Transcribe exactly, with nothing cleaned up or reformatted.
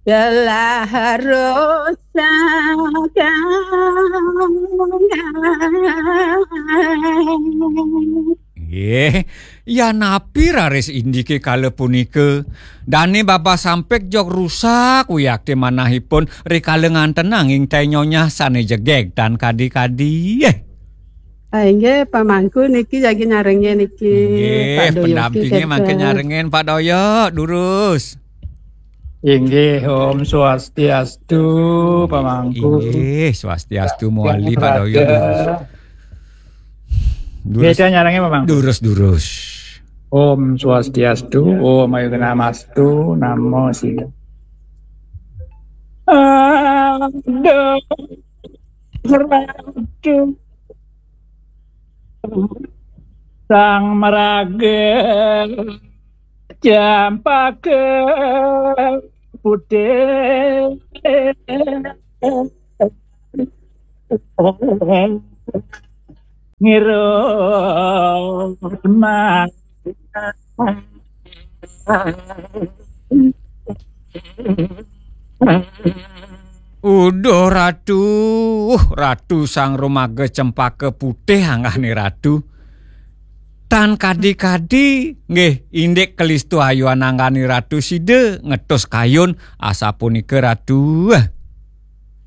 Telah rusak. Nggih, yanapi raris indike kala punika? Dane babah sampik jog rusak wiakti manahipun rikala nganten nanging teh nyonyah sane jegeg tan kadi-kadi. Eh. Ah, inggih, pamangku niki jagi nyarengin niki. Nggih, Pak Doyoke pendampinge mangke kenten. Nyarengin, Pak Doyok, durus. Inggih, Om Swastiastu, pamangku. Inggih, Swastiastu muali, Pak Doyok, durus. Durus. Nggih, nyarengin, pamangku. Durus, durus. Om Swastiastu, Om Ayu Namastu, Namo Siddhaya. Aduh, Ratu. Sang maraga cempaka putih. Ngirup Uduh, Ratu, Ratu Sang Rumaga Cempaka Putih anggane Ratu. Tan kadi-kadi, nggih, indik kalistu ayuan anggane Ratu sida ngetus kayun asapunika, Ratu.